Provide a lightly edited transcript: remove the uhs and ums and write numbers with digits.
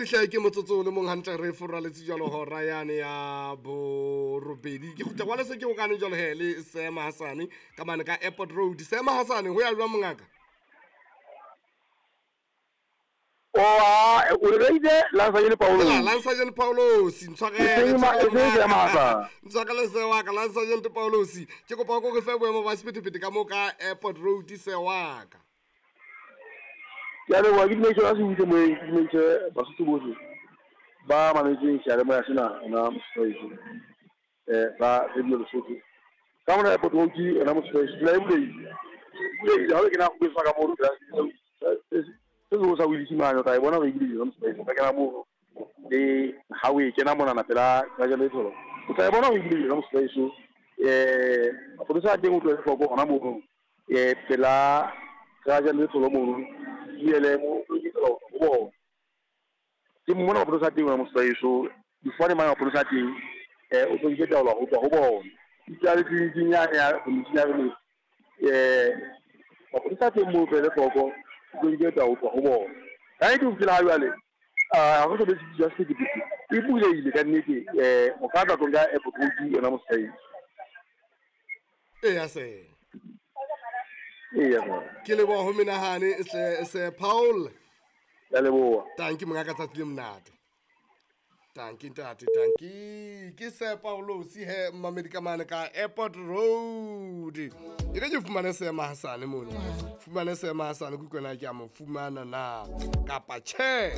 Monghadi hle ke motsotso o le mong hantle re foraletse jalo hora yane ya borobedi. Ke kgutla kwale se ke okane jalo he le Seema Hasane ka mane ka Airport Road. Seema Hasane ho ya jwang mongaka? Oa o re itse Lansajene Paulos. Lansajene Paulos ntshwarele. Ntshwarele Ntshwarele se wa ka Lansajene Paulos. Ke kopa go re fe boemo ba sephethephethe ka mo ka Airport Road se wa ka. Ke a leboha, ke dumedise ba se butle moyeng, ke dumedise Basotho bohle ba mametseng seyalemoya sena hona Mosotho sa Radio Lesotho. Ka mona Airport Road yona Mosotho tsela e bulehile. E bulehile ha o kena go ka mono se seholo sa Willis mane o tla e bona hore e bulehile yona Mosotho. O ka kena mono le ha o e kena monana pela garage le tholo. O tla e bona hore e bulehile yona Mosotho. Mapolesa a teng o tlohele hloko hona mono. Pela garage le tholo mono. BLM o lokela ho bona. Ke mona mapolesa a teng hona Mosotho. Difane mane mapolesa a teng o tlo taolo ho tswa ho bona. Itse le tleliniking yane ya community ya rona mapolesa a teng moo tlohele hloko o tlo nke taolo ho tswa ho bona. Ka nnete ho fihlela ha jwale ha re so be tshitiso ya sephethephethe e bulehile ka nnete o ka tla tlo nka Airport Road yona Mosotho. Eya se. Eya. Ke leboha ho menahane se Paul. Ya leboha. Tanki mongaka tsatsi le monate. Tanki ntate, tanki. Ke se Paulos he mmamedi ka mane ka Airport Road. E re ke fumane Seema Hasane mono. Fumane Seema Hasane ke utlwe na ke a mo fumana na kapa tjhe.